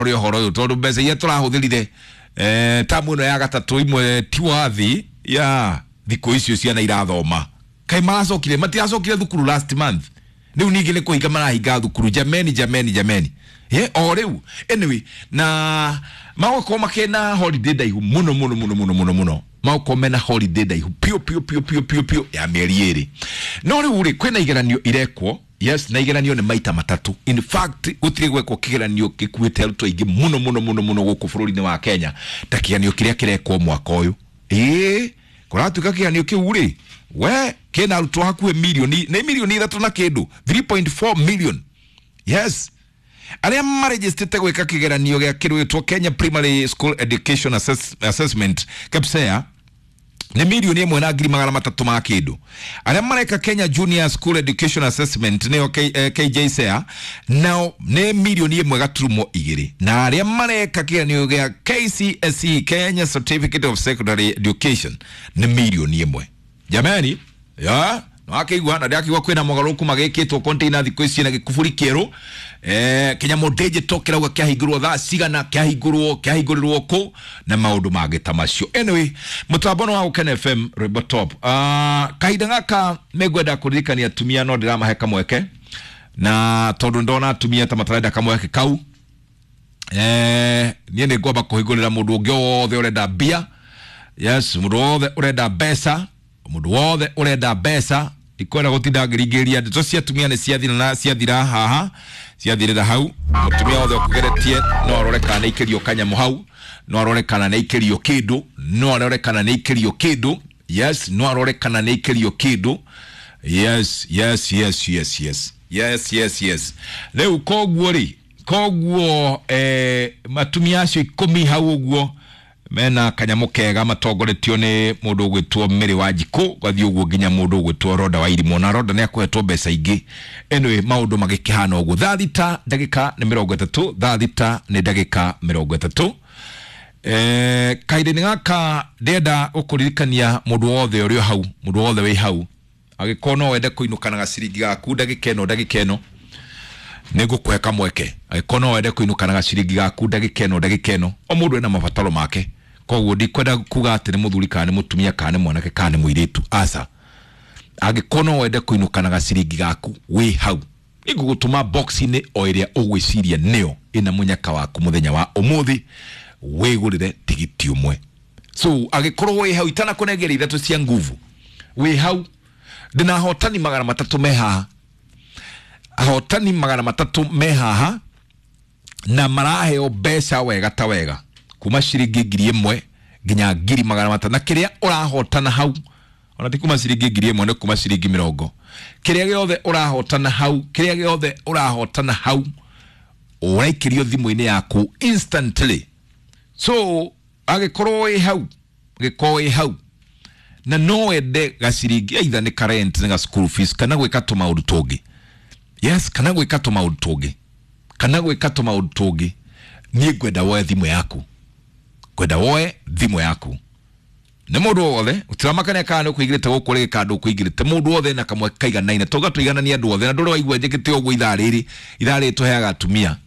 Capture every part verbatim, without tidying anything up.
Rore ũhoro ũyũ, tondũ mbeca iria tũrahũthĩrire eh, tamu ĩno ya gatatũ imwe ti wathi ya thikũ icio ciana irathoma. Kaĩ maracokire? Matiracokire thukuru last month? Rĩu ningĩ nĩ kũhinga marahinga thukuru? Jameni, jameni, jameni. Ye, o rĩu anyway na magũkorwo makĩna holiday ndaihu mũno mũno mũno mũno mũno mũno. Magũkorwo mena holiday ndaihu piũ piũ piũ piũ piũ piũ ya mĩeri ĩrĩ. No rĩu rĩ, kwĩna igeranio irekwo. Yes, na igeranio nĩ maita matatũ. In fact, gũtirĩ gwekwo kĩgeranio gĩkuĩte arutwo aingĩ mũno mũno mũno mũno gũkũ bũrũri-inĩ wa Kenya ta kĩgeranio kĩrĩa kĩrekwo mwaka ũyũ. Ĩĩ, kũratuĩka kĩgeranio kĩu rĩ, we kĩna arutwo hakuhĩ mirioni, nĩ mirioni ithatũ na kĩndũ, three point four million. Yes, arĩa marejistĩte gwĩka kĩgeranio gĩa kĩrwĩtwo Kenya Primary School Education Assess Assessment KEPSEA nĩ mirioni ĩmwe na ngiri magana matatũ ma kĩndũ. Arĩa mareka Kenya Junior School Education Assessment, nĩyo K, eh, K J S E A, nao nĩ mirioni ĩmwe gaturumo igĩrĩ. Na arĩa mareka kĩgeranio gĩa K C S E, Kenya Certificate of Secondary Education, nĩ mirioni ĩmwe. Jamani, ya wakĩigua na ndakĩigua kwĩna mogarũrũku magĩkĩtwo container thikũ ici na gĩkuburi kĩerũ eh, kĩnyamũ digital kĩrauga kĩahingũrwo thaa cigana, kĩahingũrwo kĩahingũrĩrwo kũ na maũndũ mangĩ ta macio. Anyway, mũtambo nĩ wa Gũkena F M, rwĩmbo top. uh, kahinda gaka nĩngwenda kũririkania atumia no ndĩramahe kamweke, na tondũ ndona atumia ta matarenda kamweke kau, eh, niĩ nĩ ngwamba kũhingũrĩra mũndũ ũngĩ wothe ũrenda mbia. Yes, mũndũ wothe ũrenda mbeca, mũndũ wothe ũrenda mbeca. Ndikwenda gũtinda ngĩringĩrĩria, ndeto cia atumia nĩ ciathira na ciathira haha, ciathirĩra hau. Mũtumia wothe ũkũgeretie no arore kana nĩ aikĩrio kanyamũ hau, no arore kana nĩ aikĩrio kĩndũ, no arore kana nĩ aikĩrio kĩndũ. Yes, no arore kana nĩ aikĩrio kĩndũ. Yes, yes, yes, yes, yes, yes, yes, yes. Rĩu koguo rĩ, koguo eh, matumia acio ikũmi hau ũguo mena kanyamũ kega matongoretio nĩ mũndũ ũgwĩtwo Mary Wanjikũ, gathiĩ ũguo nginya mũndũ ũgwĩtwo Roda wa Irimũ, na Roda nĩ akũhetwo mbeca ingĩ. Anyway, maũndũ magĩkĩhana ũguo. Thaa thita ndagĩka nĩ mĩrongo ĩtatũ, thaa thita nĩ ndagĩka mĩrongo ĩtatũ. Eh, kahinda-inĩ gaka ndĩrenda gũkũririkania mũndũ wothe ũrĩ o hau, mũndũ wothe wĩ hau, angĩkorwo no wende kũinũka na gaciringi gaku ndagĩka ĩno, ndagĩka ĩno nĩ ngũkũhe kamweke. Angĩkorwo no wende kũinũka na gaciringi gaku ndagĩka ĩno, ndagĩka ĩno, o mũndũ ena mabataro make, koguo ndikwenda kuga atĩ nĩ mũthuri kana nĩ mũtumia kana nĩ mwanake kana nĩ mũirĩtu, aca. Angĩkorwo no wende kũinũka na gaciringi gaku wĩ hau, nĩngũgũtũma box-inĩ o ĩrĩa ũgwĩciria nĩyo ĩna mũnyaka waku mũthenya wa ũmũthĩ, wĩgũrĩre tigiti ũmwe. So angĩkorwo wĩ hau, itanakũnengera ithatũ cia nguvu, wĩ hau, ndĩna ahotani magana matatũ me haha, ahotani magana matatũ me haha, na maraheo mbeca wega ta wega kuma ciringi ngiri ĩmwe nginya ngiri magana matano. Na kĩrĩa ũrahotana hau, ona ti kuma ciringi ngiri ĩmwe, nĩ kuma ciringi mĩrongo. Kĩrĩa gĩothe ũrahotana hau, kĩrĩa gĩothe ũrahotana hau ũraikĩrio thimũ-inĩ yaku instantly. So angĩkorwo wĩ hau, angĩkorwo wĩ hau na no wende gaciringi, either nĩ ka rent, nĩ ga school fees, kana gwĩka tũmaũndũ tũngĩ, yes, kana gwĩka tũmaũndũ tũngĩ, kana gwĩka tũmaũndũ tũngĩ, niĩ ngwenda woe thimũ yaku, ngwenda woe thimũ yaku. Nĩ mũndũ wothe ũtiramakania kana nĩ ũkũigĩrĩte gũkũ rĩngĩ kana ndũkũigĩrĩte, mũndũ wothe na kamwe kaiganaine. Tauga tũigananie andũ othe, na ndũrĩ waigua njĩkĩte ũguo ithaa rĩrĩ, ithaa rĩrĩ tũheaga atumia,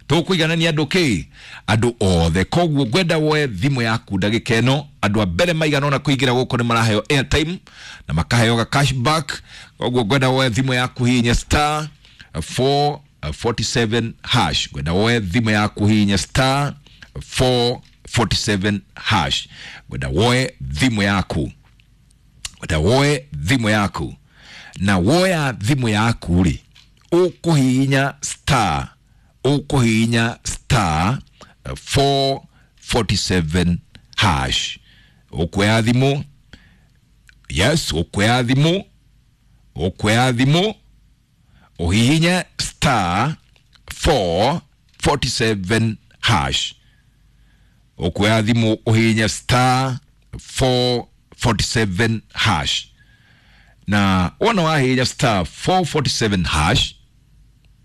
tũkũiganania andũ kĩ andũ othe. Koguo ngwenda woe thimũ yaku ndagĩka ĩno. Andũ a mbere maigana ona kũingĩra gũkũ nĩ maraheo airtime na makaheo ga cashback. Koguo ngwenda woe thimũ yaku, hihinya star four forty-seven hash. Ngwenda woe thimũ yaku, hihinya star four forty-seven hash. Ngwenda woe thimũ yaku, ngwenda woe thimũ yaku. Na woya thimũ yaku rĩ, ũkũhihinya star, ũkũhihinya star four forty-seven hash. Ũkuoya thimũ, yes, ũkuoya thimũ, ũkuoya thimũ ũhihinye star four forty-seven hash. Ũkuoya thimũ ũhihinye star four forty-seven hash. Na wona wahihinya star four forty-seven hash,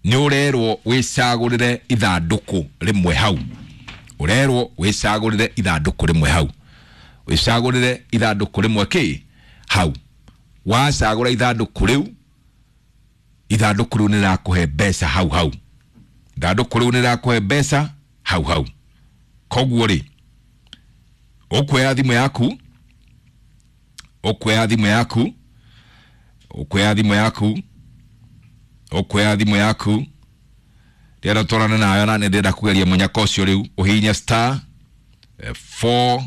nĩ ũrerwo wĩcagũrĩre ithandũkũ rĩmwe hau, ũrerwo wĩcagũrĩre ithandũkũ rĩmwe hau, wĩcagũrĩre ithandũkũ rĩmwe kĩ hau. Wacagũra ithandũkũ rĩu, ithandũkũ rĩu nĩ rĩrakũhe mbeca hau hau, ithandũkũ rĩu nĩ rĩrakũhe mbeca. Hau hau. Koguo rĩ, ũkuoya thimũ yaku, ũkuoya thimũ yaku, ũkuoya thimũ yaku, ũkuoya thimũ yaku, ndĩrenda twarane nayo na nĩ ndĩrenda kũgeria mũnyaka ũcio rĩu. Ũhihinye star four,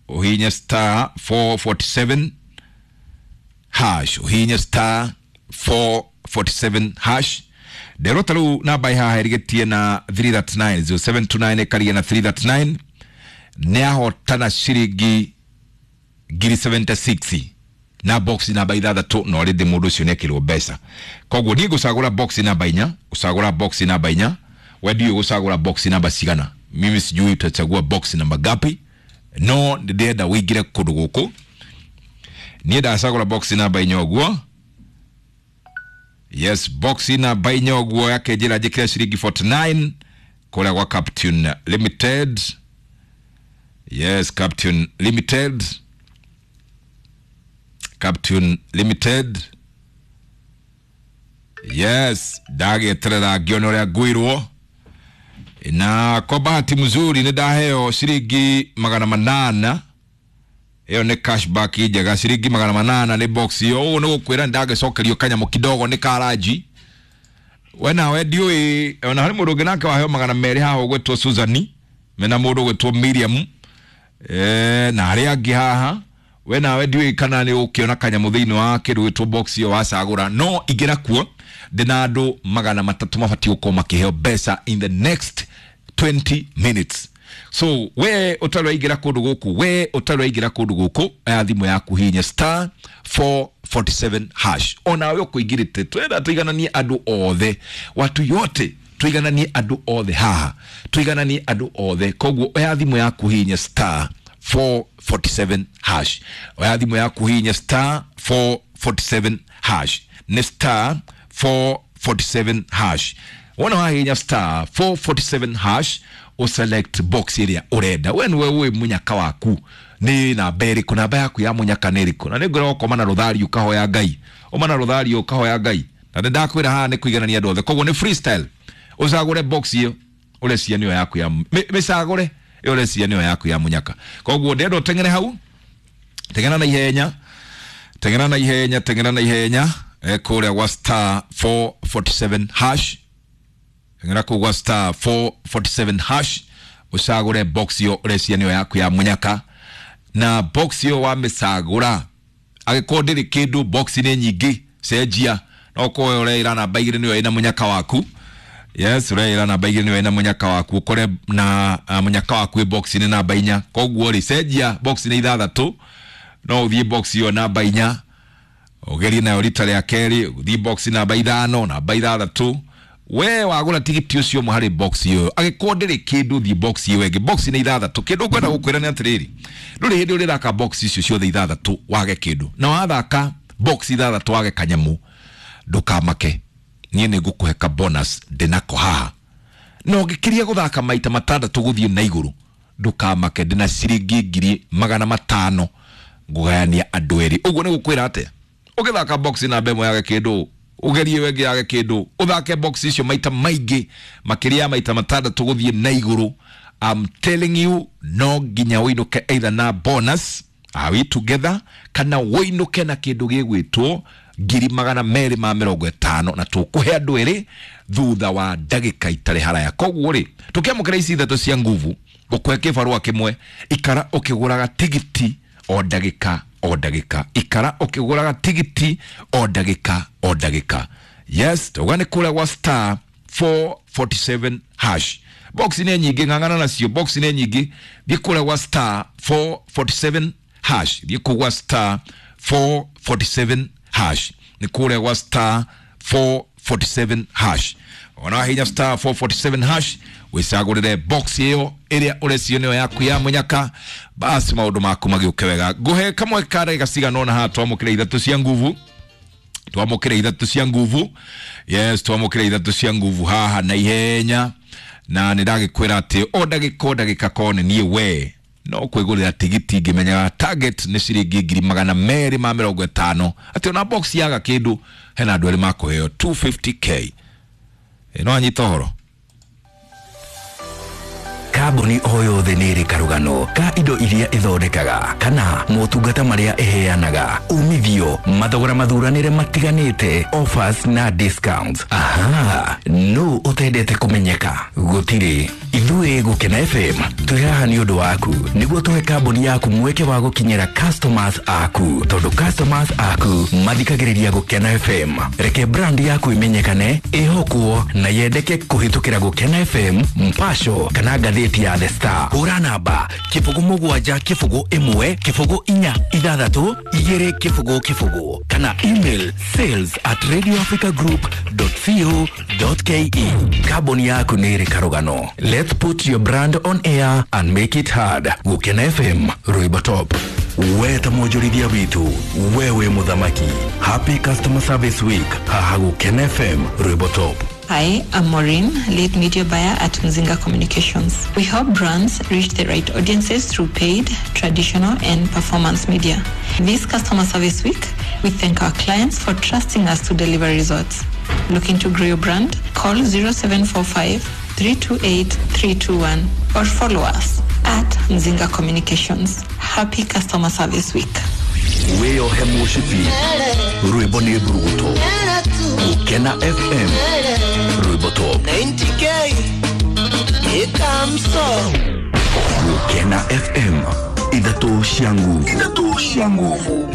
ũhihinye star four forty seven hash, ũhihinye star four forty seven hash. Nderwo ta rĩu namba ĩ haha ĩrigĩtie na three thirty nine, zero seven two nine ĩkarigia na three thirty nine, nĩ ahotana ciringi ngiri seventy six na box namba ithathatũ, na already mũndũ ũcio nĩ ekĩrwo mbeca. Koguo niĩ ngũcagũra box namba inya, ngũcagũra box namba inya. We ndiũĩ gũcagũra box namba cigana, mimi sijui utachagua box namba ngapi, no ndĩrenda ũingĩre kũndũ gũkũ. Niĩ ndacagũra box namba inya ũguo. Yes, box namba inya ũguo yake njĩra njĩkĩre ciringi forty nine kũrĩa gwa Captain Limited. Yes, Captain Limited, Captain Limited. Yes, ndagĩeterera ngĩone ũrĩa ngwĩrwo. Na kwa bahati mzuri nĩ ndaheo ciringi magana manana. Ĩyo nĩ cashback njega, ciringi magana manana nĩ box ĩyo. Ũguo nĩ gũkwĩra nĩ ndagĩcokerio kanyamũ kidogo nĩ karaji. We nawe ndiũĩ, ona harĩ mũndũ ũngĩ nake waheo magana merĩ haha ũgwĩtwo Suzani, mena mũndũ ũgwĩtwo Miriam, eh, na arĩa angĩ haha. We nawe ndiũĩ kana nĩ ũkĩona kanyamũ thĩinĩ wa kĩndũ gĩtwo box ĩyo wacagũra, no ingĩra kuo ndĩna andũ magana matatũ mabatiĩ gũkorwo makĩheo mbeca in the next twenty minutes. So we ũtarĩ waingĩra kũndũ gũkũ, we ũtarĩ waingĩra kũndũ gũkũ, oya thimũ yaku hihinya star four forty seven hash. Onawe ũkũingĩrĩte, twenda tũigananie andũ othe, watu yote tũigananie andũ othe haha, tũigananie andũ othe. Koguo oya thimũ yaku hihinya star four forty seven hash, oya thimũ yaku hihinya star four forty seven hash, nĩ star four forty seven hash. Wona wahihinya star four forty seven hash, uselect box ĩrĩa ũrenda. We nĩwe ũĩ mũnyaka waku nĩ namba ĩrĩkũ, namba yaku ya mũnyaka nĩ ĩrĩkũ. Na nĩngwĩra ũkoma na rũthari ũkahoya Ngai, ũma na rũthari ũkahoya Ngai. Na nĩ ndakwĩra haha nĩ kũiganania andũ othe, koguo nĩ freestyle. Ũcagũre box ĩyo ũrecia nĩyo yaku ya mĩcagũre ĩyo ũrecia nĩyo yaku ya mũnyaka. Koguo ndĩrenda ũteng'ere hau, teng'era na ihenya, teng'era na ihenya, teng'era na ihenya, eh, kũrĩa gwa star four forty seven hash, teng'era kũu gwa star four forty seven hash, ũcagũre box ĩyo ũrecia nĩyo yaku ya mũnyaka. Na box ĩyo wamĩcagũra, angĩkorwo ndĩrĩ kĩndũ, box nĩ nyingĩ, cenjia. No ũkorwo ũreĩra namba igĩrĩ nĩyo ĩna mũnyaka waku. Yes, ũreĩra namba igĩrĩ nĩyo ĩna mũnyaka waku, ũkore na uh, mũnyaka waku ĩ box nĩ namba inya. Koguo rĩ, cenjia box nĩ ithathatũ, no ũthiĩ box ĩyo namba inya, ũgerie nayo rita rĩa kerĩ, ũthiĩ box namba ithano, namba ithathatũ. We wagũra tigiti ũcio ũmwe harĩ box ĩyo, angĩkorwo ndĩrĩ kĩndũ, thiĩ box ĩyo ĩngĩ. Box nĩ ithathatũ. Kĩndũ ngwenda gũkwĩra nĩ atĩrĩrĩ, ndũrĩ hĩndĩ ũrĩthaka box icio ciothe ithathatũ wage kĩndũ. Na wathaka box ithathatũ wage kanyamũ, ndũkamake, niĩ nĩ ngũkũhe ka bonus ndĩnako haha. Na ũngĩkĩria gũthaka maita matandatũ gũthiĩ na igũrũ, ndũkamake, ndĩna ciringi ngiri magana matano ngũgayania andũ erĩ. Ũguo nĩ gũkwĩra atĩa? Ũgĩthaka box namba ĩmwe yage kĩndũ, ũgerie wengĩ yage kĩndũ, ũthake box icio maita maingĩ makĩria ya maita matandatũ gũthiĩ na igũrũ. I'm telling you, no nginya ũinũke either na bonus, are we together, kana ũinũke na kĩndũ gĩgwĩtwo ngiri magana merĩ ma mĩrongo ĩtano, na tũkũhe andũ erĩ thutha wa ndagĩka itarĩ haraya. Koguo rĩ, tũkĩamũkĩra ici ithatũ cia nguvu, ngũkũhe kĩbarũa kĩmwe, ikara ũkĩgũraga tigiti o ndagĩka o ndagĩka, ikara ũkĩgũraga tigiti o ndagĩka o ndagĩka. Yes, tauga nĩ kũrĩa gwa star four forty seven hash. Box nĩ nyingĩ, ng'ang'ana nacio, box nĩ nyingĩ. Thiĩ kũrĩa gwa star four forty seven hash, thiĩ kũu gwa star four forty seven hash, nĩ kũrĩa gwa star four forty seven hash. Ona wahinya star four forty seven hash, wĩcagũrĩre box ĩyo ĩrĩa ũrecio nĩyo yaku ya mũnyaka, basi maũndũ maku magĩũke wega. Ngũhe kamwe ka ndagĩka cigana ũna haha twamũkĩre ithatũ cia nguvu, twamũkĩre ithatũ cia nguvu. Yes, twamũkĩre ithatũ cia nguvu haha na ihenya. Na nĩ ndagĩkwĩra atĩ o ndagĩka o ndagĩka korwo nĩ niĩ we no kwĩgũrĩra tigiti ngĩmenyaga target nĩ ciringi ngiri magana merĩ ma mĩrongo ĩtano, atĩ ona box yaga kĩndũ hena andũ erĩ makũheo two fifty K. No anyita ũhoro. Kambuni o yothe nĩ ĩrĩ karũgano ka indo iria ĩthondekaga kana motungata marĩa ĩheanaga, umithio, mathogora mathuranĩre matiganĩte, offers na discounts. Aha, no ũtendete kũmenyeka? Gũtirĩ. Ithuĩ Gũkena F M twĩ haha nĩ ũndũ waku, nĩguo tũhe kambuni yaku mweke wa gũkinyĩra customers aku, tondũ customers aku mathikagĩrĩria Gũkena F M. Reke brand yaku ĩmenyekane, ĩhokwo na yendeke kũhĩtũkĩra Gũkena F M, Mpasho kana ngathĩti ya The Star. Hũra namba kĩbũgũ mũgwanja kĩbũgũ ĩmwe kĩbũgũ inya ithathatũ igĩrĩ kĩbũgũ kĩbũgũ kana email sales at radio africa group dot co dot ke. Kambuni yaku nĩ ĩrĩ karũgano. Let's put your brand on air and make it hard. Gũkena F M, Rwĩmbo Top. We ta mwonjorithia witũ, we wĩ mũthamaki. Happy Customer Service Week haha Gũkena F M, Rwĩmbo Top. Hi, I'm Maureen, lead media buyer at Mzinga Communications. We help brands reach the right audiences through paid, traditional, and performance media. This Customer Service Week, we thank our clients for trusting us to deliver results. Looking to grow your brand? Call zero seven four five, three two eight, three two one or follow us at Mzinga Communications. Happy Customer Service Week. Wĩyohe mũcibi, rwĩmbo nĩ mburuguto. Gũkena F M, Rwĩmbo Top. ninety K, here comes so. Gũkena F M, ithatũ cia nguvu. Ithatũ cia nguvu.